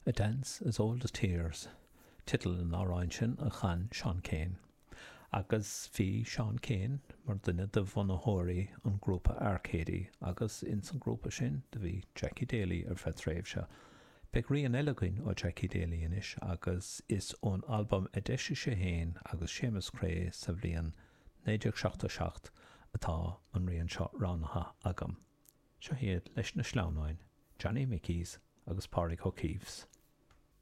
A Dance as Old as Tears teideal an amhráin sin a chan Seán Keane. Agus bhí Seán Keane mar duine de bhunaitheoirí an grúpa Arcady agus ins an grúpa sin do bhí Jackie Daly ar feadh tréimhse. Beidh rian eile againn ó Jackie Daly anois agus is ón albam a d'eisigh sé féin agus Séamus Creagh sa bhliain 1977 atá an rian seo roghnaithe agam. Seo iad leis na sleamhnáin, Johnny Mickeys agus Pádraig O'Keeffes.